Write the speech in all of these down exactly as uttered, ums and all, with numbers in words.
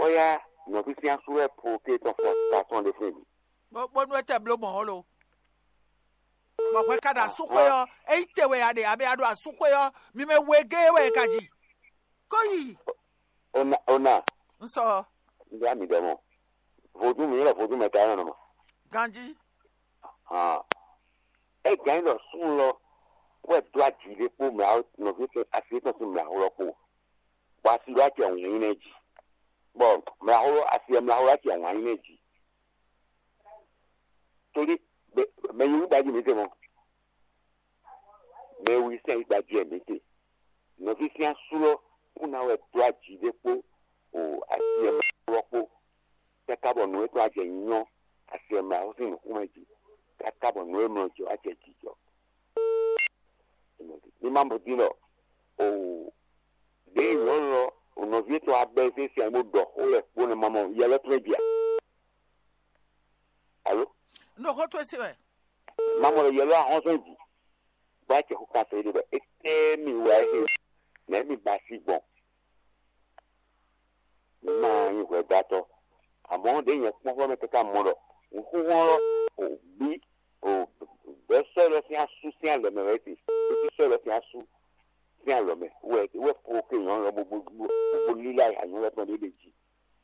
Ó yá, nɔví sín asú wɛ po ké tɔn fɔ ta tɔn ɖe fún mi. Bó bónú é tɛ bló mɔ̌ ó lo. Bɔ hwɛ ka ɖo asúxwé ɔ́, é nyí te wɛ a ɖe, abɛ a ɖo asúxwé ɔ́, mi mɛ wegée wɛ é ka ji. Kó yi. Ona ona. Un sɔ. Ndé ami ɖɔ mɔ. Vodún mi lɛ vodún mɛ ta nɔ mɔ. Ganji. Hàn. É gǎn ɖɔ sún lɔ wɛ dó aji ɖé kpó mɛ nɔví tɔn asi tɔn sín mɛ ahulɔ kpó. Bɔ asi ɖó acɛ wǐnyí nɛ jí. Bɔ mɛ ahulɔ asi mɛ ahulɔ acɛ wǐnyí nɛ jí. Torí mɛ yí wú ɖaji mi tɛ mɔ. Mɛ wi sɛn yi ɖaji ɛ mi tɛ. Nɔví sín asú lɔ kún ná wɛ dó aji ɖé kpó o asi ɛ mɛ ahulɔ kpó. Káká bɔ nǔ e tɔn acɛ nyɔ asi ɛ mɛ ahulɔ sín nǔkún mɛ jí. Káká bɔ nǔ e mlɔ jɔ acɛ jijɔ. Mi ma mɔ din ɖɔ o ɖě nyɔ̌nu ɔ́, o nɔví tɔn abɛ sín sian bó ɖɔ xó lɛ kpó nɛ ma mɔ yɛ lɛ́ tɔn jí a? Alo? Un ɖo xó towe se wɛ. Ma mɔ ɖɔ yɛ lɛ́ ahɔ́nsɔn jí. Bó acɛ xó kan sɛ ɖe ɖɔ étɛ́ mi wá é nɛ̌ mi ba sí gbɔn? Mi ma nyí hwɛdátɔ́. Amɔ̌ ɖěe nyɛ kpɔ́n xlɔ́ mɛ káká mɔ ɖɔ nǔxúxú ɔ́ o bí o bɛ̌ sɔ́ lɔ sín asú sín alɔ mɛ wɛ é se. É cí sɔ́ lɔ sín asú sín alɔ mɛ wɛ wɛ po ke nyɔ̌nu lɔ bó bó bó lílá anyɔ̌nu lɔ tɔn ɖé ɖe jí.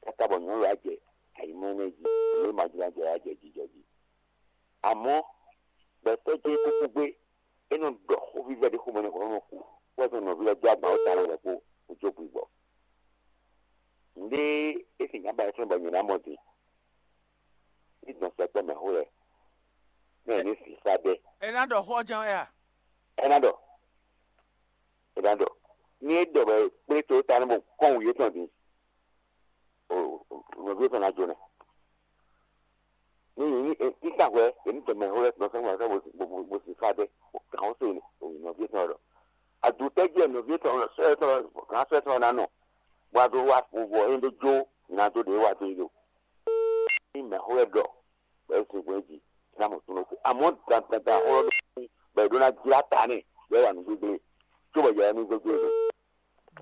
Káká bɔ nyɔ̌nu lɔ á jɛ ayǐmlɔ́mlɔ́ jí, nǔ e ma jló ná jɛ ɔ́ á jɛ jijɔ jí. Amɔ̌ gbɛtɔ́ jɛ́n kúkú gbé, é nɔ ɖɔ xó vívɛ́ ɖé xomɛ nú hɔn nɔ kú, bó wɛ nɔví lɛ́ɛ dó agban wú tawun lɛ́ɛ kpó wú jó gbigbɔ. Nǔɖé é sin nyǎ ba ɛ fɛ́n bɔ nyɛ ná mɔ din. Ní dɔn sɛkpɔ́ mɛ xó lɛ́ɛ, ní ɛ ní sǐfá ɖɛ. Ɛ ná ɖɔ xó ɔ́ jɛ́n wɛ a? Ɛ ná ɖɔ. Ɛ ná ɖɔ. Ní é ɖɔ bɔ kplé to ta ní bɔ kɔn wǔ yětɔn din. Nɔví tɔn ná jó nɛ. Ní ní ní ní ká hwɛ èmi tɔn mɛ hó lɛ tɔn sɛn wá sɛn bó sì fa dɛ kàn ó sè ní òyìn nɔví tɔn ɖɔ. Adutɛ́ jɛ nɔví tɔn sɛ tɔn kàn sɛ tɔn ná nɔ. Bó a dó wá fún vɔ é ɖó jó ná dó ɖě wá dó yí ɖo. Ní mɛ hó lɛ ɖɔ bɔ é sin gbɔn jí ná mɔ tún lóko. Àmọ́ dandandan xó lɔ ɖó bɔ è ɖó ná jlá ta nɛ yɛ wà nú gbégbé. Có bɔ yɛ wà nú gbégbé.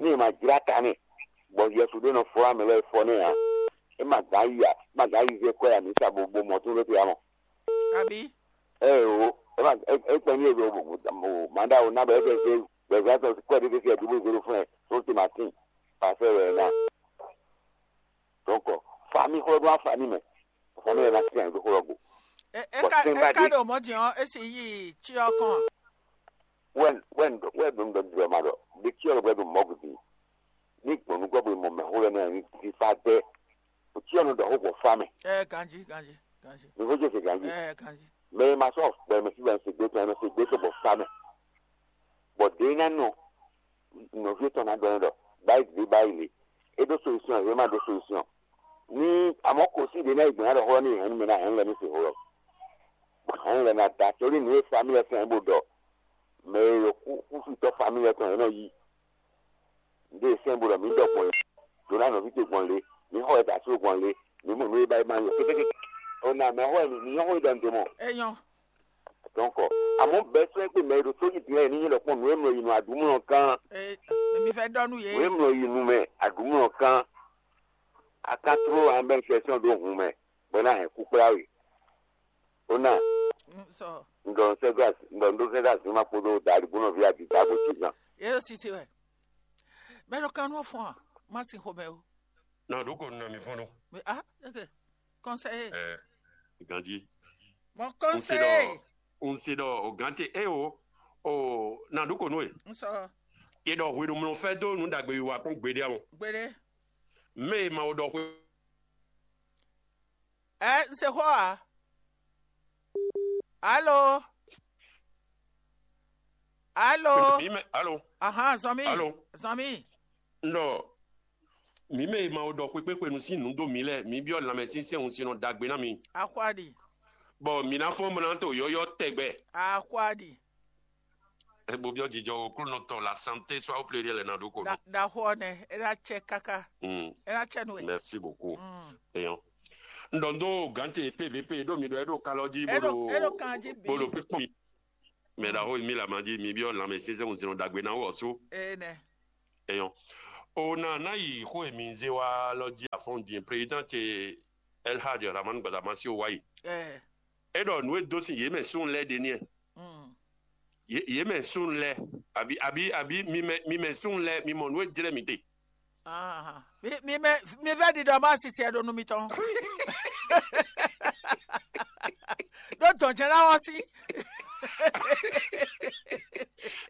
Ní è ma jlá ta nɛ bɔ Yɛsu ɖé nɔ fɔ amɛ lɛ́ɛ fɔ nɛ ǎ. É ma gǎn yi ǎ, é ma gǎn yi zé kɔ́ ya mǐ sa bo bo mɔ tún ɖó te ǎ mɔ. Abǐ? Ɛ o, é ma é é kpɛn ní e ɖo mǎɖá o ná bɔ é fɛ zé gbɛzán tɔn kɔ́ ɖé ɖé fí ɛ dúbú zéro fún ɛ tó te ma tín. Pàṣẹ wɛ ná. Donc, famille xlɔ́ ɖó afamí mɛ. Famille ɛ ná tín ɛ ɖó xlɔ́ gbo. Ɛ ɛ Bɔ ka sɛ́n ɛ bá ka dé. Ɖo mɔ̌ din ɔ́, é sì yí tsyɔ kɔn a? Wɛn wɛn wɛn ɖo ɖɔ ɖɔ ma ɖɔ ɖe tsyɔ ɖɔ ɖɔ mɔ gudi. Ní gbɔn nukɔ bo mɔ mɛ xó lɛ nɛ ní fífá dɛ. O tsyɔ nɔ ɖɔ xó gbɔ fa mɛ. Ɛ ganji ganji ganji. Mi xó jɛ se ganji. Ɛ ganji. Mɛ ma sɔ gbɛ mɛ fífá se gbé tɔn mɛ se gbé tɔn bɔ fa mɛ. Bɔ ɖe ná nɔ nɔví tɔn ná ɖɔ ɖɔ báyìí ɖe báyìí le. É ɖó solution é ma ɖó solution. Ní àmọ́ kò sí ìdè náà ìgbìmọ̀ àdó xó ní ìhẹ́n mi ná hẹ́n lɛ ní se xó lɔ. Hɛn lɛ na da torí nǔ e famille ɛ fɛn bó ɖɔ mɛ e ɖo kúfitɔ famille ɛ tɔn yě nɔ yí. Nǔ e fɛn bó ɖɔ mǐ ɖɔ gbɔn lě, Jona nɔví ce gbɔn lě, mǐ xɔ ɛ da so gbɔn lě, mǐ mɔ nǔ e ba yi ma yɔ kékéké. O na mɛ xɔ ɛ mǐ nyɔ xɔ yi ɖɔ nǔ ɖé mɔ. Enyɔ. Donc, àmọ́ bɛ́ sɔ́ ɛ pé mɛ e ɖo tó yí din ɛ ní nyí ɖɔ kpɔn nǔ e mlɔ yi nɔ aɖǔmlɔ kan. Ee, mi fẹ́ ɖɔ nú yě. Nǔ e mlɔ yi nu mɛ aɖǔmlɔ kan. Akatro ambɛn fɛsɔn ɖó hun mɛ bɔ é ná hɛn kú kplá we. Ó ná. Sɔ. Ŋdɔ sɛgɔs ŋdɔ ŋdɔ sɛgɔs ní ma kpódó dali búnɔ ví adi dabo tí zan. Yé sisi wɛ. Mɛ ɖo kan nú fún a, má sin xomɛ o. Na ɖó kɔ nɔ mi fɔ́n nú. Mais ah, ok. Conseiller. Ɛ ganji. Mon N se conseiller. Ɖɔ n se ɖɔ o gante e o o na ɖó kɔ nú e. N sɔ. E ɖɔ hwenu mlɔ fɛ dó nú ɖagbe yi wa kpɔn gbeɖé awon. Gbeɖé. Mɛ e ma o ɖɔ hwe. Ɛ n se xɔ a? Alo? Alo? Mi mɛ alo? Ahan, zɔn mi. Alo? Zɔn mi. N ɖɔ mi mɛ e ma o ɖɔ xwekpéxwenu sín nǔ dó mi lɛ́ɛ, mi byɔ́ lanmɛsyɛnsyɛn wunsinnɔ ɖagbe ná mi. Axwadi. Bɔ mi ná fɔ́n mlá to yɔ́yɔ́ tɛgbɛ. Axwadi. Ebo byɔ́ jijɔ oklúnɔ tɔn la santé soit au pluriel ná ɖó kɔ. Ɖaxó ɔ́ nɛ, é ná cɛ káká. Mm. É ná cɛ nú we. Merci beaucoup. Mm. Eyɔn. N ɖɔ n ɖó gǎnte P V P ɖó mi ɖɔ é ɖo kalɔ jí bó ɖo é ɖo kan jí bó ɖo bǐ. Kpíkpɔ́n. Mɛ ɖaxó mi la ma jí mi byɔ́ lanmɛ sínsɛ́n wunsinnɔ ɖagbe ná wɔ sú. Ee nɛ. Eyɔn. O ná ná yi xó e mi zé wá lɔ jí afɔ́n din, président ce El Hadj Rahman Gbadama si wá yi. Ɛ. É ɖɔ nǔ e dó sin yě mɛ súnnu lɛ́ɛ ɖe n'i. Mm. Yě yě mɛ súnnu lɛ́ɛ, àbí àbí àbí mi mɛ mi mɛ súnnu lɛ́ɛ, mi mɔ nǔ e jlɛ́ mi ɖe. Ah, mi mi mɛ mi vɛ ɖiɖɔ ma sisi ɛ ɖo nu mitɔn. Ɖó dɔn jɛ ná wɔ sí.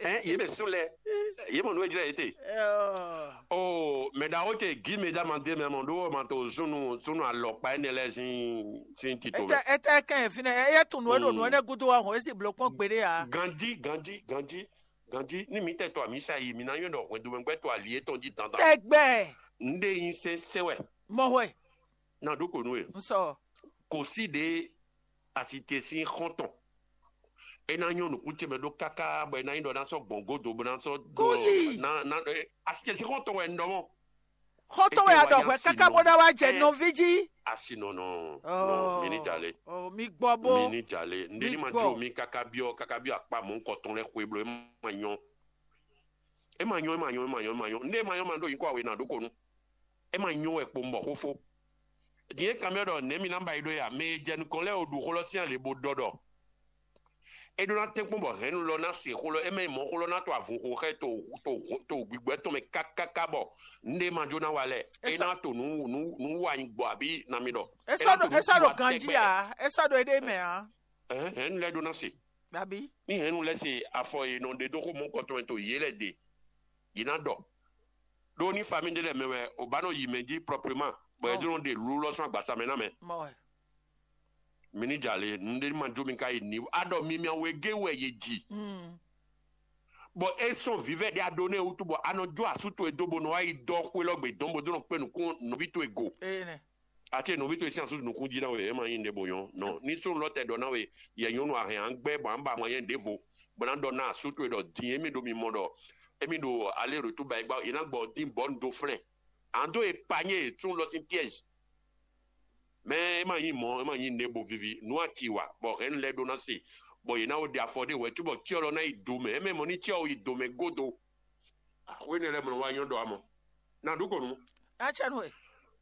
Ɛn yě mɛ súnnu lɛ́ɛ, yě mɔ nǔ e jlɛ́ yě te. Ɛɛ. O mɛ ɖaxó ce gí mɛ dá ma dé mɛ mɔ ɖó ma to súnnu súnnu alɔkpa énɛ́ lɛ́ɛ sín sín tito mɛ. Etɛ etɛ kɛn fínɛ eye tun nǔ e ɖo nǔ énɛ́ gúdo wá hɔn esi bló kpɔn gbeɖé ǎ. Ganjí ganjí ganjí ganjí ní mi tɛ to amisa yi mi ná yɔn ɖɔ hwɛndo mɛ gbɛ to ali yetɔn jí dandan. Tɛgbɛ. Nɖe yin sɛnsɛn wɛ. Mɔ hwɛ. Na ɖó ko nú e. N sɔ. Kò sí ɖe asi te sín xɔ́ntɔn. É ná nyɔ́ nǔkún ce mɛ ɖó káká bɔ é ná nyí ɖɔ ná sɔ́ gbɔn godo bó ná sɔ́ ɖó Kúyi. Ná ná ɛ, asi ce sín xɔ́ntɔn wɛ un ɖɔ mɔ̌. Xɔ́ntɔn wɛ a ɖɔ hwɛ káká bó ná wá jɛ nɔví jí. Asi nɔ nɔ nɔ mi ní jalè. Oh, mi gbɔ bó. Mi ní jalè. Ndé ní ma jó mi káká byɔ́ káká byɔ́ akpa mɔ̌ kɔtɔn lɛ́ɛ xwe bló é ma nyɔ́. É ma nyɔ́ é ma nyɔ́ é ma nyɔ́ é ma nyɔ́. Ndé é ma nyɔ́ ma ɖó nyǐkɔ awe ná ɖó ko nú. É ma nyɔ́ wɛ kpo un bɔ xó fó. Din é kanbyɔ́ ɖɔ nɛ̌ mi ná ba yi ɖó ya? Mɛ e jɛ nukɔn lɛ́ɛ o ɖu xó lɔ sín ale bó ɖɔ ɖɔ é ɖó ná tɛ́nkpɔ́n bɔ hɛ̌nnu lɔ ná se xó lɔ, é mɛ mɔ̌ xó lɔ ná to avunxo xɛ to to to gbigbɔ tɔn mɛ kákáká bɔ nɖé ma jó ná wa lɛ. É ná to nǔ nǔ nǔ wa nyi gbɔ abí na mi ɖɔ. É sɔ́ ɖo é sɔ́ ɖo ganjí ǎ, é sɔ́ ɖo éɖée mɛ ǎ. Hɛ̌nnu lɛ́ɛ ɖó ná se. Abí? Ní hɛ̌nnu lɛ́ɛ se afɔ e nɔ ɖe dó xó mɔ̌kɔtɔn mɛ to yě lɛ́ɛ ɖe, yě ná ɖɔ. Ɖó ní famíɖé lɛ́ɛ mɛ wɛ o ba nɔ yi mɛ jí prɔprema bɔ é jló ɖe lú lɔ sɔ́ agbasa mɛ ná mɛ. Mi ní jalè nǔɖé ní ma jó mi ka yi ní a ɖɔ mi mia wegé wɛ yě ji. Bɔ é sɔn vǐvɛ́ ɖé a ɖó nɛ́ wútu bɔ a nɔ jó asú towe dó bó nɔ wá yi dɔ xwé lɔ gbe dɔn bó dó nɔ kpé nukún nɔví towe go. Ati e nɔví towe sín asú nukún jí ná we é ma nyí nɖé bo nyɔ́ nɔ ní sónú lɔ tɛ ɖɔ ná we yɛ nyɔ́nu a hɛn an gbɛ́ bɔ an ba mɔ nyɛ ɖěvo bɔ ná ɖɔ ná asú towe ɖɔ din émí ɖo mi mɔ ɖɔ émí ɖo alé retour ba é gbá yě ná gbɔ dín bɔ̌ un dó flɛ́n. An dó e panyé e tún lɔ sín piège. Mɛ é ma nyí mɔ̌ é ma nyí nɛ̌ bo vivi nǔ a ci wa bɔ hɛ̌nnu lɛ́ɛ ɖó ná se bɔ yě ná wo ɖe afɔ ɖé wɛ̌ cóbɔ cyɔ lɔ ná yi do mɛ é mɛ mɔ ní cyɔ yi do mɛ gódo. Axwé énɛ́ lɛ́ɛ mɔ wá nyɔ́ ɖɔ amɔ. Na ɖu kɔnu. Acɛnu e.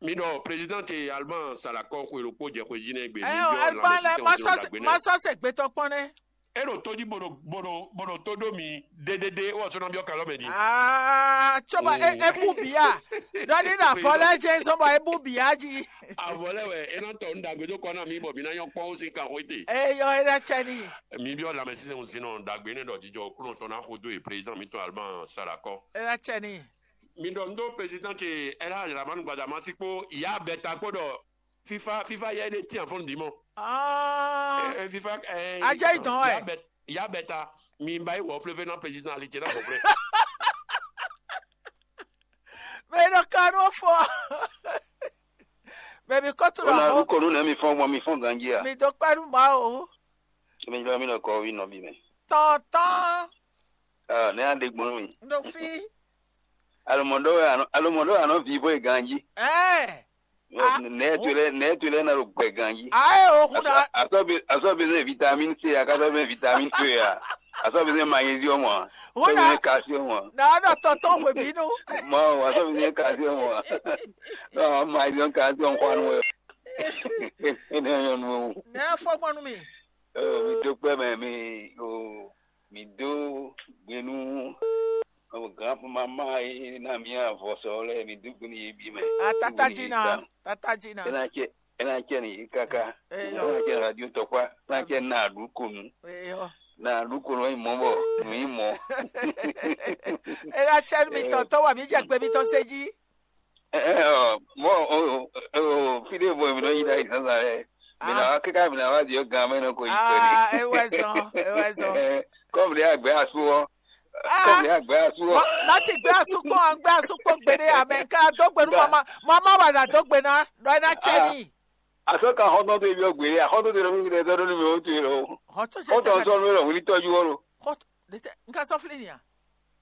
Mi ɖɔ président ce Allemagne Salakɔ xwe ɖokpó jɛ xwe jí nɛ́ gbe mi Ɛyɔ jɔ Alban lɛ lanmɛsísɛn masɔ ɖagbe nɛ́. Masɔ se gbetɔ kpɔn nɛ. É ɖo tó jí bó ɖo bó ɖo bó ɖo tó ɖó mi ɖéɖéɖé wɔ sɔ́ ná byɔ́ kalɔ mɛ din. Aa tsoba e e bu bia. Dɔni na vɔlɛ jɛ zɔn bɔ e bu bia ji. Avɔ lɛ wɛ é ná tɔ nu ɖagbe dó kɔ ná mi bɔ mi ná nyɔ kpɔ́n ó sín kan xwé te. Eyɔ e ná cɛ ni. Mi byɔ́ lanmɛsísɛn sin nɔ ɖagbe nɛ ɖɔ jijɔ kúnɔ tɔn ná xo dó e président mi tɔn Allemagne Salakɔ. E ná cɛ ni. Mi ɖɔ nu dó président ce El Hadj Dramane Gbadama sí kpó ìyá Bɛta kpó ɖɔ fifa fifa yɛ ɖe tian fɔn dimɔ. Ah, ɛ fifa ɛ Ajá ìdán ɛ. Ya bɛ ya bɛ ta mi ba yi wɔ flefe na président ali cɛ na bɔ fle. Mɛ ɖo kanu fɔ. Mɛ mi kɔ tu Ona lɔ. Ru konu na mi fɔn gbɔn mi fɔn ganji a. Mi do kpanu ma o. Mi jɔ mi nɔ kɔ wi nɔ bi mɛ. Tɔntɔn. Ah, ne ande gbɔn mi. Ndo fi. Alomɔdɔ wɛ anɔ alomɔdɔ wɛ anɔ vi bɔ ganji. Ɛ. Nɛ tu lɛ nɛ tu lɛ na ɖo gbɛ ganji. Ayi o kun na. Asɔ bi asɔ bi ne vitamine C a kasɔ bi ne vitamine E a asɔ bi ne magnesium a asɔ bi ne calcium a. Na ɔdɔ tɔntɔn hwe binu. Ma o asɔ bi ne calcium a. Non magnesium calcium kɔ anu wɛ. Ene yɔ nu. Nɛ fɔ kɔnu mi. Mi do kpɛ mɛ mi o mi do gbenu. Granpama e ná mía vɔsɔ lɛ́ɛ mi dó gbe nú yě bǐ mɛ. Atata jina, tata jina. É ná cɛ é ná cɛ nìyí káká. Eyɔ. É ná cɛ radio tɔkpá, é ná cɛ ná àdúkò nú. Eyɔ. Ná àdúkò nú yín mɔ bɔ nú yín mɔ. É ná cɛ nú mi tɔn tɔn wà mí jẹ gbé mi tɔn sé jí. Mɔ o o fide bɔ mi nɔ yi ɖe ayi sasa lɛ. Mi na wa kíkà mi na wa di o gan mɛ nɔ ko yi pɛ ni. Ah, é wɛ zɔn, é wɛ zɔn. Kɔmi de agbɛ asu wɔ. Kɔmi de agbɛ asu wɔ. Má sì gbé asukpɔn, gbé asukpɔn gbeɖé amɛ ká dó gbe nú mama, mama wà nà dó gbe ná, ɖɔ é ná tsɛ ní. Asɔ ka xɔtɔn tó ebi ɔgbɛ yɛ, xɔtɔn tó ebi ɔgbɛ yɛ, tɔdɔ ní mi o tó yɛ lɔ. Xɔtɔn tó ebi ɔgbɛ yɛ, wòlí tɔjú wɔ lo. Xɔtɔn, n ka sɔ fili nya.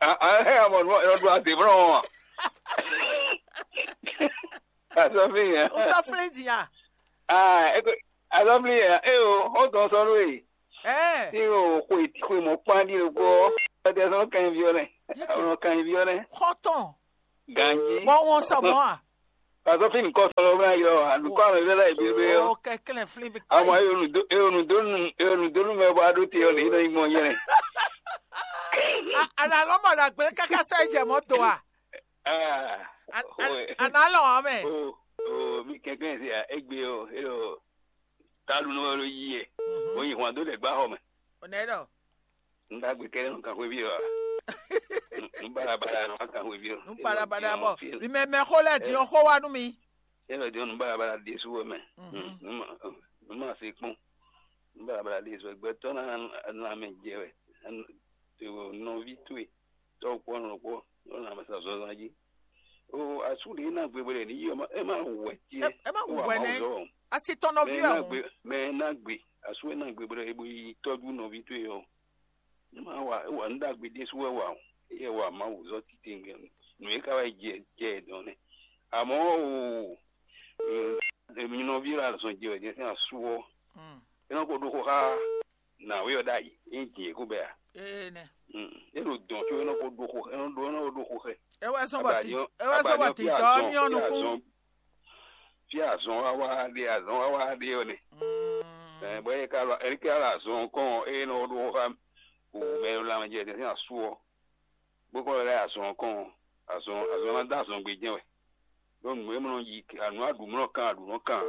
Ah, ah, eh, amɔ nɔ nɔ do ase fúnra wọn. Asɔ fili nya. O sɔ fili nya. Ah, eko asɔ fili nya. Eh o, xɔtɔn sɔ lo yi. Eh. Ti o xwe xwe mɔ kpandi lo ko. Ɔtɛ sɔ kan vi ɔnɛ. Ɔnɔ kan vi ɔnɛ. Xɔtɔn. Ganji. Bɔ wɔn sɔ mɔ a? Pazɔ fi nukɔ sɔlɔ bla yɔ, anukɔ alɔ lɛ la ibi be yɔ. O kɛkɛlɛ fili bi. Ama e onu do e onu do nu e onu do nu mɛ bɔ ado te yɔ le yɔ imɔ yɛ. Ana lɔ mɔ na gbe kaka sɛ jɛ mɔ to a? Ah. Ana lɔ amɛ. O o mi kɛkɛ se a egbe o e o talu nɔ lo yi yɛ. O yi hwan do lɛ gba xɔ mɛ. O nɛ dɔ. Nɖagbe kɛɖɛ nɔ kan xwéví ɔ. Nú balabala nɔ kan xwéví ɔ. Nú balabala bɔ mi mɛ mɛ xó lɛ din ɔ xó wá nú mi. Yɛlɛ din ɔ nú balabala ɖésú wɛ mɛ. Nú ma se kpɔn. Nú balabala ɖésú wɛ gbɛtɔ na na mɛ jɛ wɛ. Nɔví towe tɔ́ kpɔ́ nɔ kpɔ́ nɔ na mɛ sa zɔzɔn jí. O asú ɖe na gbe bɔ ɖe ní yi ɔmɔ ɛ má wɛ tiɛ. Ɛ má wɛ nɛ. Asi tɔn nɔví ɔ. Mɛ na gbe asú ɛ na gbe bɔ ɖe bo yi tɔ́jú nɔví towe ɔ. Má wa é wa nǔ ɖagbe ɖésú wɛ wa o. Éyɛ́ wa Mawu zɔ́ titewungbe nǔ e ka wá jɛ jɛ ɛ dɔn nɛ́. Amɔ̌ o, mi nɔví lɔ azɔn jɛ wɛ jɛ sín asú ɔ́, é nɔ ko ɖó xó xá nǎwe ɔ́ ɖ'ayǐ, é nyí din e kó bɛ́ ǎ. Ee nɛ. É ɖo dɔn có é nɔ ko ɖó xó é nɔ ɖó é nɔ ko ɖó xó xɛ. É wɛ zɔn bɔ ti é wɛ zɔn bɔ ti dɔɔ ní ɔ́ nukún. Fí azɔn wá wá ɖe azɔn wá wá ɖe ɔ́ nɛ. Bɔ é ka lɔ é ka lɔ azɔn kɔn ɔ́, é nɔ ɖó xó xá wǔ mɛ e ɖo lanmɛ jɛ sín asú ɔ́, bó kɔn lɛ́ azɔn kɔn ɔ́, azɔn azɔn ná dó azɔn gbe jɛ́n wɛ. Ɖó nǔ e mɔ nɔ yi anu aɖǔ mɔ nɔ kan aɖǔ nɔ kan.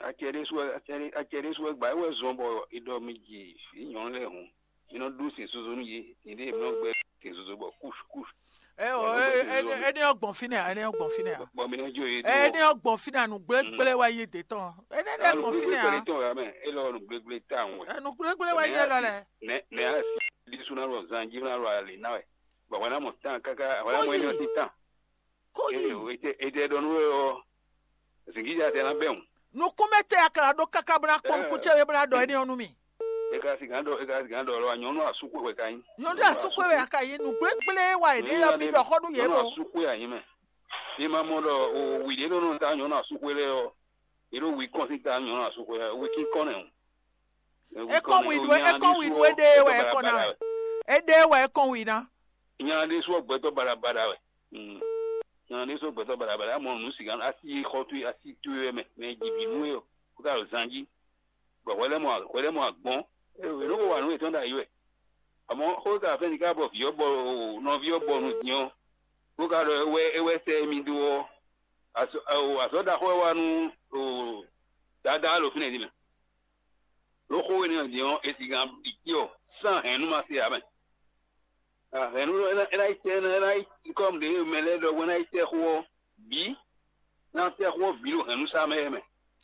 Acɛ ɖésú wɛ acɛ ɖésú wɛ gbǎ é wɛ zɔn bɔ è ɖɔ mi ji vǐ nyɔ̌nu lɛ́ɛ hǔn, mi nɔ ɖó sin zozo nú yě, nyɛɖée mi nɔ gbɛ́ sin zozo bɔ kúsh kúsh. Ɛ ɔ, ɛ ɛ ɛ ní ɔ́ gbɔn fínɛ́ ǎ, ɛ ní ɔ́ gbɔn fínɛ́ ǎ. Bɔ mi nɔ jó yě dó. Ɛ ní ɔ́ gbɔn fínɛ́ ǎ, nǔgblégblé wɛ yí dě tɔn. Ɛ ní ɔ́ gbɔn fínɛ́ ǎ. Tɔn wɛ mɛ, é lɔ nǔgblégblé tawun wɛ. Ɛ nǔgblégblé wɛ yí ɛ lɔ lɛ. Nɛ nɛ a si ɖésú ná lɔ zan jí ná lɔ ali ná wɛ. Bɔ hwɛ ná mɔ tán káká hwɛ ná mɔ é ní ɔ́ sín tán. Kó yi. Ete ɖɔ nú we ɔ́, zǐngídza tɛ ná bɛ́ wǔ. Nukúnmɛ tɛ a ka ná ɖó káká bó ná kpɔ́n nukún ce wé bó ná ɖɔ éní ɔ́ nú mì. E ka si gǎn ɖɔ e ka si gǎn ɖɔ lɔ nyɔ̌nu asúxwe wɛ ka nyí. Nyɔ̌nu asúxwe wɛ a ka nyí, nǔgblégblé wa è ɖe yɔ mì ɖɔ xɔ nú yě nyɔ̌nu ɖo. Asúxwe a nyí mɛ. Mi ma mɔ ɖɔ o wǐ ɖé nɔ nɔ ta nyɔ̌nu asúxwe lɛ́ɛ ɔ́, yě ɖo wǐ kɔn sín ta nyɔ̌nu asúxwe lɛ́ɛ wí kínkɔ́n nɛ o. É kɔn wǐ ɖu é kɔn wǐ ɖu é ɖe wɛ é kɔn ná wɛ. É ɖe wɛ é kɔn wǐ ná. Nya ɖé sú gbɛtɔ́ baɖabaɖa wɛ. Nya ɖé sú gbɛtɔ́ baɖabaɖa mɔ nǔ sǐgá asi xɔ towe asi towe wɛ mɛ mɛ jǐ vǐ nú we ɔ kó ka ɖo zan jí. Bɔ hwɛ lɛ́ mɔ hwɛ lɛ́ mɔ agbɔn. È nɔ ko wa nǔ yětɔn ɖ'ayǐ wɛ. Amɔ̌ xó ka fɛ́n ní ká bɔ vǐ ɔ́ bɔ nɔví ɔ́ bɔ nǔ din ɔ́, bó ka ɖɔ é wɛ é wɛ sɛ émí dó ɔ́, azɔ̌ ɖaxó wɛ wá nú Dadá ɖo fínɛ́ din mɛ. Ɖó xó énɛ́ din ɔ́, è sixú ɖi cyɔ sín ahɛ̌nnu ma se ǎ mɛ. Ahɛ̌nnu ɔ́, é ná yi tɛ́ é ná yi kɔ́ ɖě mɛ lɛ́ɛ ɖɔhun é ná yi tɛ́ xó ɔ́ bǐ, ná tɛ́ xó ɔ́ bǐ ɖo hɛ̌nnu sá mɛ é mɛ.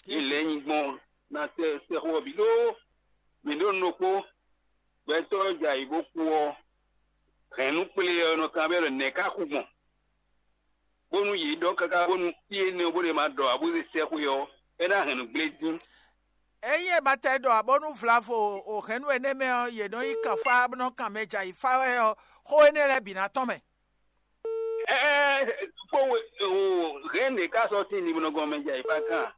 Yě lɛ́ nyi gbɔn ná tɛ́ tɛ́ xó ɔ́ bǐ ɖó mǐ ɖó nukpó gbɛtɔ́ jɛ ayǐ bó kú ɔ́, hɛ̌nnu kplé ɔ́ nɔ kanbyɔ́ ɖɔ nɛ̌ ká kú gbɔn? Bónú yě ɖɔ káká bónú fí énɛ́ ɔ́ bó ɖe ma ɖɔ ǎ bó zé sɛ́xwé ɔ́, é ná hɛn nǔ gblé dín. Ényí è ma tɛ ɖɔ ǎ bónú vlavo o hɛ̌nnu énɛ́ mɛ ɔ́, yě nɔ nyí kanfá bó nɔ kan mɛ jɛ ayǐ fá wɛ ɔ́, xó énɛ́ lɛ́ɛ bǐ ná tɔ́n mɛ. Ɛɛ kpó hɛ̌nnu e ká sɔ́ sín nimlɔgɔn mɛ jɛ ayǐ fá kan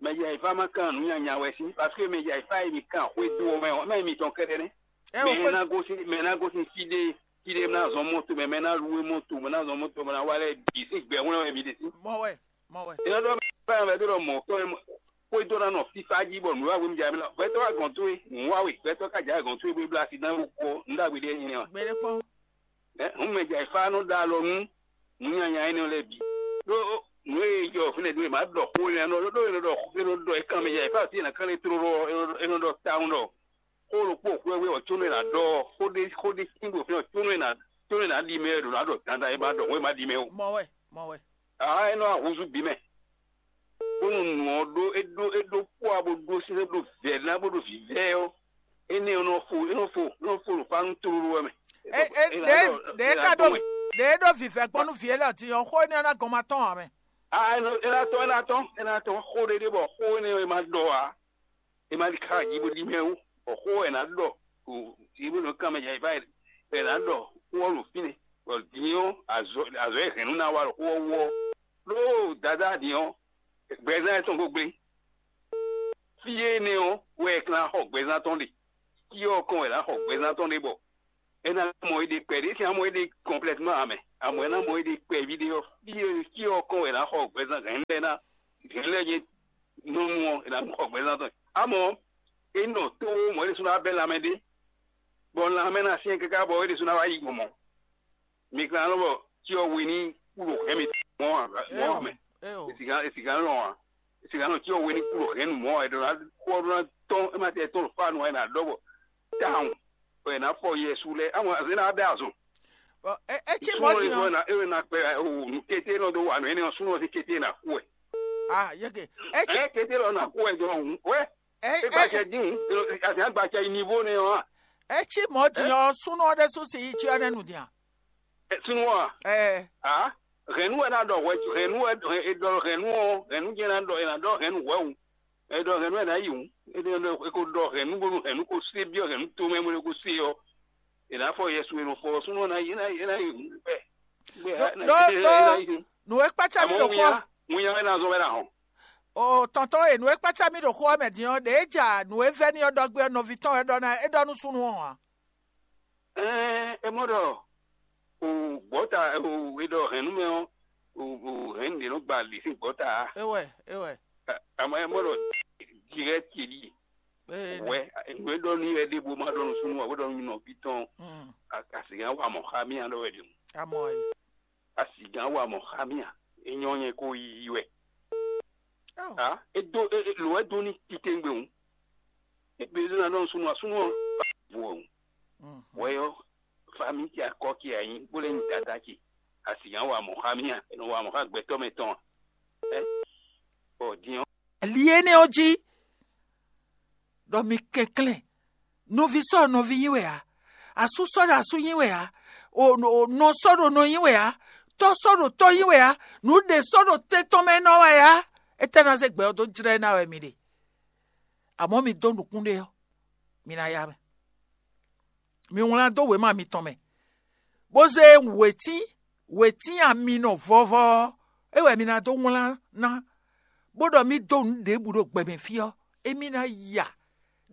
mɛ jɛ ayǐ fá ma kan nǔ nyanya wɛ sín, parce que mɛ jɛ ayǐ fá e mi kan xwé dó ɔ́ mɛ ɔ́, mɛ mitɔn kɛ́ɖɛ́ nɛ́. Mɛ e ná gosín mɛ e ná gosín fí ɖé fí ɖé ná zɔn mɔto mɛ mɛ ná lú mɔto mɛ ná zɔn mɔto mɛ ná wá lɛ́ɛ bǐ sín gbɛhwlɛ́n wɛ mi ɖe sí. Mɔ wɛ, mɔ wɛ. É nɔ ɖɔ mɛ bɛ ɖɔ mɔ̌ kɔn xwedó ná nɔ fífá jí bɔ nǔ wá wé mi jà mí lɔ gbɛtɔ́ wá gɔn towe nǔ wá wé gbɛtɔ́ ká jà gɔn towe bó blá sí ná wó kɔ nǔ ɖagbe ɖé nyɛ ɔ́. Gbɛɖɛkpɔn. Ɛ hǔn mɛ jà fá nɔ ɖó alɔ nú nǔ nyanya énɛ́ lɛ́ɛ bǐ. Ɖó nǔ e jɔ fínɛ́ dó e má ɖɔ xó énɛ́ nɔ ɖó e nɔ ɖɔ e nɔ ɖɔ e kan mɛ jà fá sí e nɔ kán lé tlóló ɔ́, é nɔ ɖɔ tawun ɖɔ xó ɖokpó xwɛ́wé ɔ́ có nɔ e nǎ ɖɔ ɔ́, xó ɖé xó ɖé sín ɖo fínɛ́ có nɔ e nǎ có nɔ e nǎ ɖi mɛ wɛ ɖo nǎ ɖɔ dandan e má ɖɔ xó e má ɖi mɛ ó. Mɔ wɛ, mɔ wɛ. Aa é nɔ ahunzú bǐ mɛ. Bónú nǔ ɔ́ ɖó é ɖó é ɖó kpó a bó ɖó sɛ́sɛ́ bó ɖó vɛ̌ ná bó ɖó vǐvɛ́ ɔ́, énɛ́ ɔ́ nɔ fo é nɔ fo é nɔ fo ɖo fá nú tlóló wɛ mɛ. Ɖě ɖě ka ɖó ɖě ɖó vǐvɛ́ gbɔn nú vǐ élɔ́ din ɔ́, xó énɛ́ ɔ́ ná gɔn ma tɔ́n ǎ mɛ. Aa é nɔ é ná tɔ́n é ná tɔ́n xó ɖé ɖé bɔ xó énɛ́ ɔ́ é má ɖɔ ǎ. È ma ɖi xá jí bó ɖi mɛ ó, bɔ xó wɛ è nǎ ɖɔ ɖo yě bó nɔ kán mɛ jɛ báyìí, bɔ è nǎ ɖɔ xó ɔ́ ɖo fínɛ́, bɔ din ɔ́ azɔ̌ azɔ̌ e hɛ̌nnu ná wa ɖo xó ɔ́ wú ɔ́, ɖó Dadá din ɔ́, gbɛzán yɛtɔn ko gblé. Fí énɛ́ ɔ́ wɛ è ka ná xɔ gbɛzán tɔn ɖe, fí ɔ́ kɔn wɛ è nǎ xɔ gbɛzán tɔn ɖe bɔ è nǎ mɔ éɖée kpɛɖé, è nǎ mɔ éɖée kɔnplɛtmán ǎ mɛ. Amɔ̌ é ná mɔ é ɖe kpɛví ɖé ɔ́, fí e fí ɔ́ kɔn wɛ è nǎ xɔ gbɛzán hɛ̌nnu lɛ́ɛ ná, hɛ̌nnu lɛ́ɛ nyí nɔ́nu ɔ́, è nǎ xɔ gbɛzán tɔn. Amɔ̌ é nɔ tó mɔ é ɖésú ná bɛ́ lanmɛ ɖé, bɔ lanmɛ ná syɛ́n káká bɔ é ɖésú ná wá yi gbɔn mɔ̌. Mi ka nɔ bɔ cyɔ we ní kú ɖo hɛn mi mɔ̌ ǎ, mɔ̌ ǎ mɛ. Eo, eo. È sǐgán è sǐgán lɔn ǎ. È sǐgán nɔ cyɔ we ní kú ɖo hɛn nu mɔ̌ ǎ. È ɖɔ ná kú ɔ́ ɖó ná tɔ́n, é má tɛ tɔ́n ɖo fá nu ǎ, è nǎ ɖɔ bɔ táhùn, bɔ è nǎ fɔ Yɛsu lɛ́ɛ. Amɔ̌ azé ná bɛ́ azɔn. Bɔ é é cí mɔ̌ Súnnu din ɔ́ ɔ́. Ná é ná kpɛ o nǔkété nɔ dó wa nǔ énɛ́ ɔ́, súnnu ɔ́ sín kété ná kú wɛ. Ah, yeke. É cí Ɛ kété lɔ ná kú wɛ jɔ hǔn wɛ. É É é gbacɛ dín, àti àgbàcɛ yi nivo nɛ ɔ́. É cí mɔ̌ din ɔ́, súnnu ɔ́ ɖésú si yi cyɔ nɛ́ nu din a? Súnnu ɔ́. Ɛ. A hɛ̌nnu wɛ ná ɖɔ hwɛ hɛ̌nnu wɛ è ɖɔ hɛ̌nnu ɔ́, hɛ̌nnu jɛ́n ná ɖɔ è nǎ ɖɔ hɛ̌nnu hwɛ̌ hǔn. È ɖɔ hɛ̌nnu wɛ ná yi hǔn. È ɖɔ è ko ɖɔ hɛ̌nnu bónú hɛ̌nnu ko sé byɔ́ hɛ̌nnu tomɛ bó ko sé ɔ́, è nǎ fɔ Yɛsu e nɔ fɔ ɔ́, súnnu ɔ́ ná yi ná yi ná yi hǔn bɛ́. Ɖó ɖó ɖó nǔ e kpácá mì ɖo xó ɔ́. Winnya wɛ ná zɔn wɛ ná hɔn. O tɔntɔn e nǔ e kpácá mì ɖo xó ɔ́ mɛ din ɔ́, ɖě ja nǔ e vɛ́ n'i ɔ́ ɖɔ gbé ɔ́, nɔví tɔn wɛ ɖɔ ná é ɖɔ nú súnnu ɔ́ ǎ. Ɛɛ, é mɔ ɖɔ o gbɔta o e ɖɔ hɛn nú mɛ ɔ́, o o hɛn ɖě nɔ gba lǐ sín gbɔta á. É wɛ, é wɛ. Àmọ́ é mɔ ɖɔ direct ce ɖíe. Ee, wɛ nú é ɖɔ nú yɛ ɖěvo ma ɖɔ nú súnnu ǎ, bó ɖɔ nú nɔví tɔn. Mm. Asi gán wa mɔ̌ xá mì ǎ ɖɔ wɛ ɖě mu. Amɔ e. Asi gán wa mɔ̌ xá mì ǎ, é nyɔ́ nyɛ kó yiyi wɛ. Oh. Á é dó é é- lǒ wɛ dó ní titewungbe hǔn. É bǐ ɖó ná ɖɔ nú súnnu ǎ, súnnu ɔ́ vo hǔn. Mhm. Wɛ ɔ́, famí ce akɔ ce ǎ nyí bó lɛ́ nyí dada ce. Asi gán wa mɔ̌ xá mì ǎ, é nɔ wa mɔ̌ xá gbɛtɔ́ mɛ tɔn ǎ. Ɛ bɔ din ɔ́. Ali énɛ́ ɔ́ jí, ɖɔ mi kɛnklɛ́n, nɔví sɔ́ ɖo nɔví nyí wɛ ǎ, asú sɔ́ ɖo asú nyí wɛ ǎ, o- o- nɔ sɔ́ ɖo nɔ nyí wɛ ǎ, tɔ́ sɔ́ ɖo tɔ́ nyí wɛ ǎ, nǔɖé sɔ́ ɖo tɛn tɔn mɛ nɔ wɛ ǎ. Étɛ́ ná zé gbɛ ɔ́ dó jlɛ́ ná wɛ mi ɖe? Amɔ̌ mi dó nukún ɖé ɔ́, mi ná ya mɛ. Mi wlán dó wěma mitɔn mɛ, bó zé wětín wětín ami nɔ vɔvɔ ɔ́, é wɛ mi ná dó wlán ná, bó ɖɔ mì dó nǔ ɖěbǔ ɖo gbɛ mɛ fí ɔ́, émí ná ya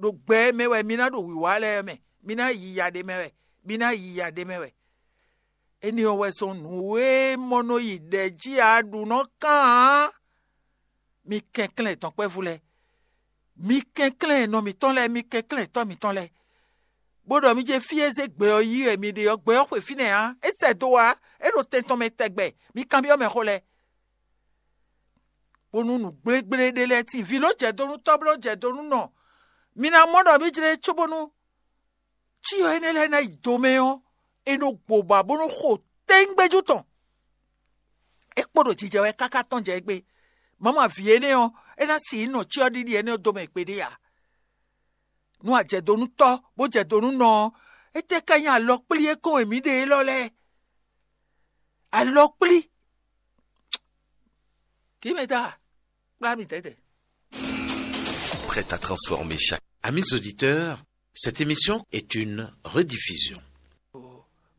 ɖo gbɛ e mɛ wɛ mi ná ɖo wǐwá lɛ́ɛ mɛ, mi ná yi ya ɖ'é mɛ wɛ, mi ná yi ya ɖ'é mɛ wɛ. Énɛ́ ɔ́ wɛ zɔ́n nǔ e mɔ nɔ yi ɖɛ̌ jí a ɖu nɔ kán ǎ. Mi kɛnklɛ́n dɔ̌nkpɛvú lɛ́ɛ, mi kɛnklɛ́n nɔ mǐtɔn lɛ́ɛ, mi kɛnklɛ́n tɔ́ mǐtɔn lɛ́ɛ, bó ɖɔ mi jɛ fí e zé gbɛ ɔ́ yí wɛ mi ɖe ɔ́, gbɛ ɔ́ xwe fínɛ́ ǎ, é sɛ do ǎ, é ɖo tɛn tɔn mɛ tɛgbɛ, mi kanbyɔ́ mɛ xó lɛ́ɛ. Bónú nǔ gblégblé ɖé lɛ́ɛ tíin, vǐ ló jɛ do nú tɔ́ bó ló jɛ do nú nɔ, mi ná mɔ ɖɔ mǐ jlé cóbónú cyɔ énɛ́ lɛ́ɛ ná yi do mɛ ɔ́, é nɔ gbo ba bó nɔ xo tɛ́ngbɛ́jú tɔn. É kpo ɖo jijɛ wɛ káká tɔ́n jɛ égbé. Mama vǐ énɛ́ ɔ́, é ná si yi nɔ cyɔ ɖiɖi énɛ́ ɔ́ domɛ gbeɖé ǎ. Nú a jɛ do nú tɔ́, bó jɛ do nú nɔ ɔ́, étɛ́ ká nyí alɔkplí e kɔn e mǐ ɖe élɔ́ lɛ́ɛ? Alɔkplí. Kǐ mɛ ta, kplá mi tɛ́tɛ. Prête à transformer chaque. Amis auditeurs, cette émission est une rediffusion.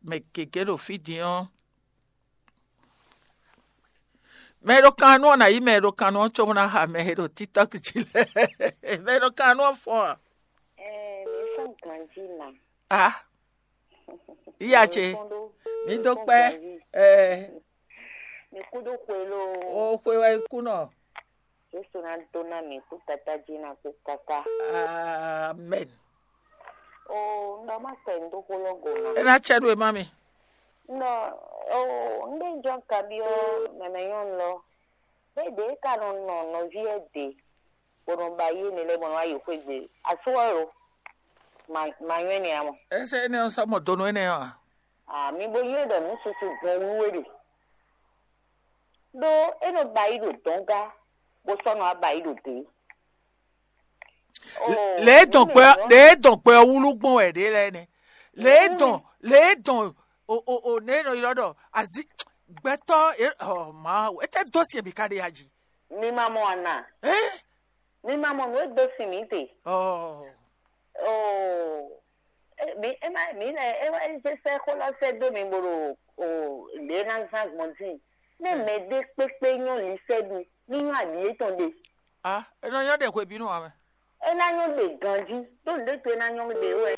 Mɛ gěgé ɖo fí din ɔ́, mɛ e ɖo kan nú ɔ́ ná yí mɛ e ɖo kan nú ɔ́ cóbó ná xa mɛ e ɖo TikTok jí lɛ́ɛ. Mɛ e ɖo kan nú ɔ́ fɔ́n a? Ɛɛ, mi fɔ́n ganjí ma. Ah, iya ce, mi dó kpɛ́. Ɛɛ, mi kú ɖó xwe loo. O xwe wɛ kú nɔ. Jesu ná dó ná mǐ kú Tata jí ná kú káká. Amen. Oo, un ɖɔ má sɛ un dó xó lɔ go ná. É ná cɛ nú we má mi. Un ɖɔ oo, un ɖe jɔ kabyɔ mɛmɛ nyɔnu lɔ. Bɛ ɖe ka nɔ nɔ nɔví ɛ ɖe, bɔ nɔ ba yi ne lɛ bɔ nɔ ayi xwé gbe. Asu ɔ lo. Ma ma nyɔɛ ne amɔ. Ese ne sɔ mɔ donu ene ɔ. Ah, mi bo nyɔɛ ɖɔ nu susu gbɔn wú we ɖe. Ɖó é nɔ ba yi ɖo dɔn gá, bó sɔ́ nɔ ba yi ɖo dě. Lě e dɔn gbɛ lě e dɔn gbɛ ɔ́ wúlú gbɔn wɛ ɖě lɛ́ɛ nɛ́. Lě e dɔn lě e dɔn o o o nɛ e nɔ ylɔ́ ɖɔ azi gbɛtɔ́ e ɔ Mawu, étɛ́ dó sin e mǐ ka ɖe ya jí? Mi ma mɔ ana. Ɛ Mi ma mɔ nǔ e dó sin mǐ te. Ɔ Oo, e- mi e ma mi lɛ e wɛ zé sɛ́ xó lɔ sɛ́ dó mi bo ɖo o ɖě ná zán gbɔn dín. Nɛ mɛ ɖé kpékpé nyɔ́ lisɛ́ɖu ní nyɔ́ aɖǐ yětɔn ɖe. A e nɔ nyɔ́ ɖe hwebǐnu ǎ mɛ. É ná nyɔ́ ɖe ganjí ɖó nǔɖé to é ná nyɔ́ ɖe wɛ.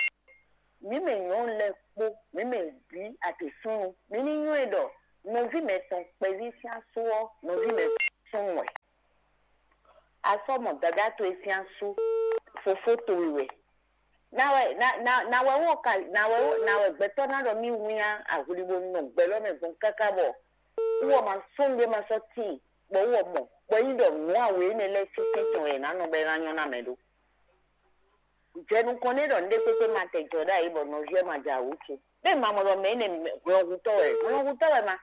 Mǐ mɛ nyɔ̌nu lɛ́ɛ kpó mǐ mɛ bǐ atě súnnu, mǐ ní nywɛ́ ɖɔ Nɔví mɛtɔn kpɛví sín asú ɔ́, nɔví mɛtɔn súnnu wɛ. A sɔ́ mɔ dadá towe sín asú, fofó towe wɛ. Ná wɛ ná ná ná wɛ wɔ ka ná wɛ wɔ ná wɛ gbɛtɔ́ ná ɖɔ mì wínnyá ahwlibo nɔ gbɛ lɔ mɛ gbɔn káká bɔ wɔ ma sɔ́ nɖé ma sɔ́ tíin bɔ wɔ mɔ bɔ yí ɖɔ nǔ awe énɛ́ lɛ́ɛ sín tɛ́ntin wɛ è nǎ nɔ bɔ é ná nyɔ́ ná mɛ ɖó. Jɛ nukɔn n'i ɖɔ nǔɖé kpékpé ma tɛ jɔ ɖ'ayǐ bɔ nɔví ɔ́ ma jɛ awǔ ce. Bɛ́ ma mɔ ɖɔ mɛ énɛ́ hwlɔ́nhutɔ́ wɛ, hwlɔ́nhutɔ́ wɛ ma.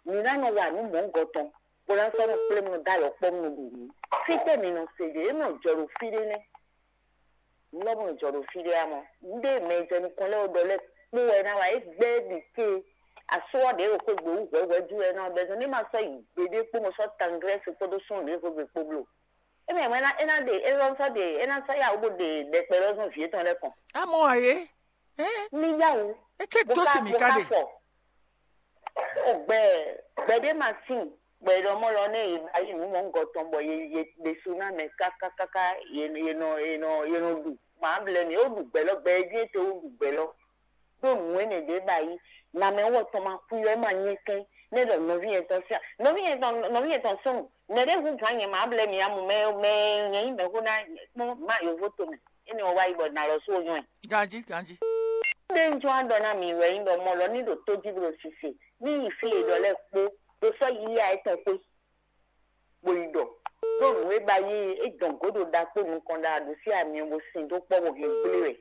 Mǐ ná nɔ wa nǔ mɔ̌gɔtɔn, bó ná sɔ́ nɔ kplé mɔ dó alɔkpɔ́ mɔ ɖu nǔ. Fítɛ́ mi nɔ se ɖe? É nɔ jɔ ɖo fí ɖé nɛ́. Nǔ lɔ mɔ jɔ ɖo fí ɖé amɔ. Nǔɖé mɛ jɛ nukɔn lɛ́ɛ ɖɔ lɛ́ɛ kpó wɛ ná wa é gbɛ́ ɖi ké. Asú ɔ́ ɖě ɖo xwé gbe wú hwɛ̌hwɛ́ jú wɛ ná bɛ́ zɔn ní ma sɔ́ yi gbeɖé kpó mo sɔ́ tanglɛ́ se kpódó súnnu ɖěvo gbe kpó bló. É mɛ é ná é ná ɖe é lɔ sɔ́ ɖe é ná sɔ́ yá wú bó ɖe ɖɛkpɛ lɔ zɔn vǐ étɔn lɛ́ɛ kɔn. Amɔ ayé, ɛ, Ní yá wú. É ké bó dó ká si mǐ bó ká ká ɖe. Fɔ. Ó gbɛ gbɛɖé ma tín bɔ è ɖɔ mɔ lɔ nɛ è ba yi nǔ mɔ̌gɔtɔn bɔ ye ye ɖésú ná mɛ kákákáká ye ye nɔ ye nɔ ye nɔ ɖu mǎ blɛ́ mì ó ɖu gbɛ lɔ gbɛ e jí é te ó ɖu gbɛ lɔ ɖó nǔ énɛ́ ɖě ba yi nǎmɛ wɔ tɔn ma kú yɔ é ma nyɛ kɛn nɛ ɖɔ nɔví yɛn tɔn sín nɔví yɛn tɔn nɔví yɛn tɔn súnnu nɛ ɖé hu gǎn nyɛ mǎ blɛ́ mì amú mɛ mɛ nyɛ nyí mɛ xó ná kpɔ́n má yǒvó tomɛ énɛ́ wɔ wá yi bɔ nǎ lɔ sú ó nyɔ́ ɛ. Ganjí, ganjí. Ɖé ń jɔ aɖɔ ná mi wɛ nyí ɖɔ mɔ lɔ ní ɖo tó jí bó ɖo sise ní yi fí e ɖɔ lɛ́ɛ kpó ɖo sɔ́ yíyá etɔn xwé bó yi ɖɔ ɖó nǔ e ba yí é dɔn gǒdo ɖaxó nukɔn ɖa ɖo sí amyɔ bó sin dó kpɔ́ bó hɛn gblé wɛ.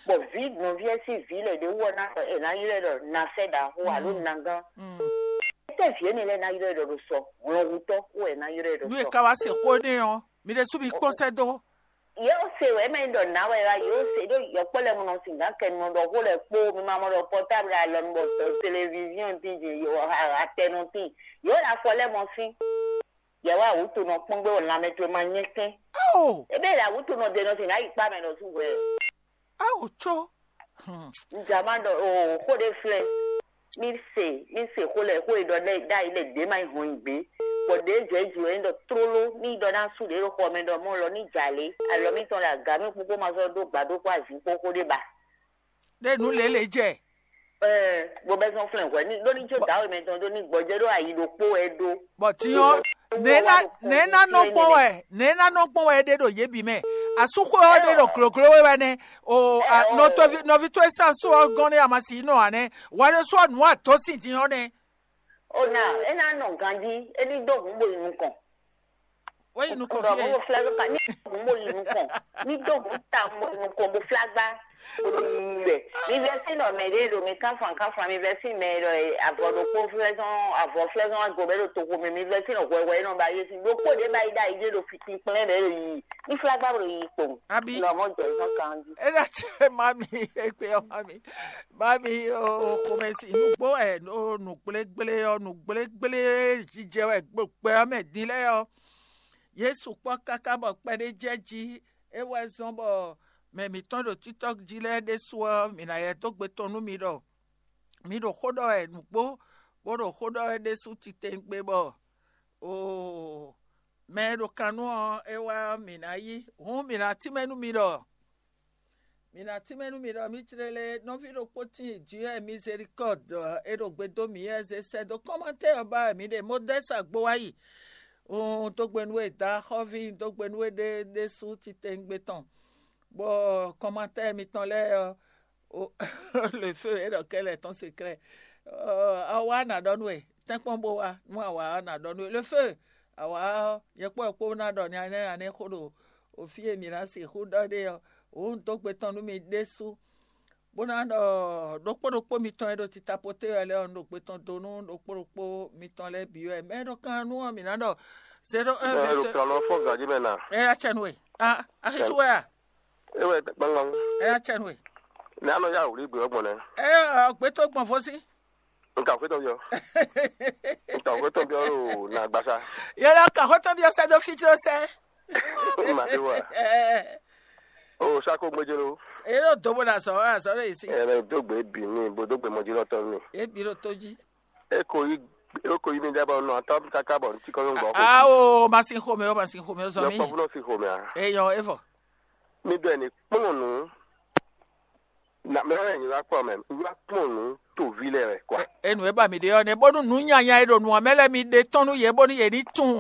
Bɔ vǐ nɔví ɛ sín vǐ lɛ́ɛ ɖě wú ɔ́ ná ɖɔ è nǎ ylɔ́ ɛ ɖɔ nasɛ́ ɖaxó alo nagán. Étɛ́ vǐ énɛ́ lɛ́ɛ ná ylɔ́ ɛ ɖɔ ɖo sɔ hlɔnhutɔ́ wú wɛ è nǎ ylɔ́ ɛ ɖɔ Nú è sɔ. Ka wá se xó n'i ɔ́, mi ɖésú mi kpɔ́n sɛ́ dó. Yě ó se wɛ mɛ ɖɔ nǎ wɛ wá yě ó se ɖó yɔkpɔ́ lɛ́ɛ mɔ nɔ sin gǎn kɛ nɔ ɖɔ xó lɛ́ɛ kpó mi ma mɔ ɖɔ pɔtábl alɔnu bɔ televiziɔn tín din yě atɛnɔ tín yě ó ɖo afɔ lɛ́ɛ mɔ sín. Yě wá wǔtu nɔ kpɔ́n gbé wɔ lanmɛ towe ma nyɛ kɛn. Ao! Ebe ɖo awǔtu nɔ ɖe nɔ sin ná yi kpá mɛ nɔ sú hwɛ. Ao có. Hmm. Nzama ɖɔ o xó ɖé flɛ. Mi se mi se xó lɛ xó e ɖɔ ɖe ɖ'ayǐ lɛ ɖě ma yi hɔn nyi gbé. Bɔ ɖě jɛ jí wɛ ɖɔ tlóló ní ɖɔ ná sú ɖě ɖo xɔ mɛ ɖɔ mɔ lɔ ní jà lé alɔ mítɔn ɖo aga mí kpókpó ma sɔ́ dó gbǎ ɖó kpó azǐn kpó xó ɖé ba. Ɖé nǔ lě lě jɛ. Ɛɛ, bó bɛ zɔn flɛn hwɛ ní ɖó ní tso dǎwe mɛ tɔn ɖó ní gbɔjɛ ɖó ayi ɖokpó wɛ ɖó. Bɔ tinyɔ nɛ̌ ná nɛ̌ ná nɔ gbɔn wɛ nɛ̌ ná nɔ gbɔn wɛ ɖe ɖo yě bǐ mɛ. Asúxwé ɔ́ ɖe ɖo glǒgló wɛ wɛ nɛ. O a, nɔtɔvi nɔvi towe sín asú ɔ́ gɔ́n ɖé amasi nɔ ǎ nɛ́. Wɛ ɖé sú ɔ́ nǔ atɔ́ sin din ɔ́ nɛ́. O na é ná nɔ ganjí é ní dó hǔn bo yi nukɔn. Wé yi nukɔn Ɖɔ fie. Mo flá ló ka ní mo mo yi nukɔn ní dó mo ta mo yi nukɔn mo flá gbá mo yi rẹ̀ mi vɛ sí nɔ mɛ ɖé ɖo mi káfan káfan mi vɛ sí mɛ ɖɔ avɔ ɖokpó flɛzɔn avɔ flɛzɔn agbo bɛ ɖo toxo mɛ mi vɛ sí nɔ hwɛhwɛ nɔ ba yé sí ɖokpó ɖé ba yi ɖa yi ɖé ɖo fitin kplɛ́n ɖé ɖo yi ní flá gbá ɖo yi kpɔn. Abi. Nɔ mɔ jɔ zɔn kan jí. Ena tse mami ekpe ɔ mami mami o xomɛsi nugbo ɛ o nugblégblé ɔ nugblégblé jijɛ wɛ gbogbo ɛ mɛ din lɛ ɔ. Yesu kpɔ́ káká bɔ kpɛɖé jɛ jí é wɛ zɔ́n bɔ mɛ mǐtɔn ɖo TikTok jí lɛ́ɛ ɖésú ɔ́, mǐ ná yɛ dó gbe tɔn nú mi ɖɔ mi ɖo xó ɖɔ wɛ nǔgbó bó ɖo xó ɖɔ wɛ ɖésú titewungbe bɔ oo mɛ e ɖo kan nú ɔ́ é wá ɔ́, mǐ ná yí. Hǔn mǐ ná tínmɛ nú mi ɖɔ mǐ ná tínmɛ nú mi ɖɔ mǐ jlé lé nɔví ɖokpó tíin Dieu Miséricorde e ɖo gbe dó mǐ wɛ zé sɛ́ dó kɔ́mantɛ́ ɔ́ ba wɛ mǐ ɖe Modɛ́si Agbowayi. Un dó gbe nú we dǎ xɔ́ví, un dó gbe nú we ɖé ɖésú titewungbe tɔn, bɔ kɔ́mantɛ́ mitɔn lɛ́ɛ ɔ́, le feu é ɖɔ kɛ́ lɛ̌ tɔn se klɛ́. A wá nǎ ɖɔ nú we, tɛ́nkpɔ́n bó wá, nú a wǎ ɔ́, nǎ ɖɔ nú we. Le feu, a wǎ ɔ́, nyɛ kpó wɛ kpó ná ɖɔ nya énɛ́ nya énɛ́ xó ɖo o fí e mǐ ná sixú ɖɔ ɖe ɔ́, wǒ un dó gbe tɔn nú mi ɖésú, bó ná ɖɔ ɖokpó ɖokpó mitɔn e ɖo titapoté wɛ lɛ́ɛ ɔ́, un ɖo gbe tɔn dó nú ɖokpó ɖokpó mitɔn lɛ́ɛ bǐ wɛ. Mɛ e ɖo kan nú ɔ́, mǐ ná ɖɔ zéro un Ɛ, vingt ɖo kalɔ fɔ gǎjí mɛ na. Ɛ, acɛ nú we. A, axisú wɛ a? É wɛ gbangban. Ɛ, acɛ nú we. Ní anɔ yá wòlí gbé ɔgbɔn nɛ. Ɛ, ɔ, gbé tó gbɔn fɔ sí. Nka xwétɔ biɔ. Nka xwétɔ biɔ lo na gbasa. Yɛlɛ ka xɔtɔn bi ɔsɛ do fi tso sɛ. Ma ti wa. Ɛ, O sako gbedze lo. Eye ɖo do bo na sɔ azɔ ɖe yi si. Ɛ bɛ do gbe bi mi bo do gbe mɔdzi lɔ tɔn mi. Ebi ɖo to dzi. E ko yi e ko yi mi da bɔ nɔ atɔ kaka bɔ ntí kɔ yɔn gbɔ ko. Awo masin xome o masin xome o zɔ Yɔ mi. Kpɔfu nɔ si xome a. Eyɔ evɔ. Mi bɛ ni kplɔn nu. Na mɛ wɛ nyí wá kpɔ́n mɛ, nyí wá kpɔ́n nǔ toví lɛ wɛ kwa. Enu e ba mi ɖe ɔ́ nɛ bónú nǔ nyanya e ɖo nǔ ɔ́ mɛ lɛ́ɛ mi ɖe tɔ́n nú yě bónú yě ní tunwun.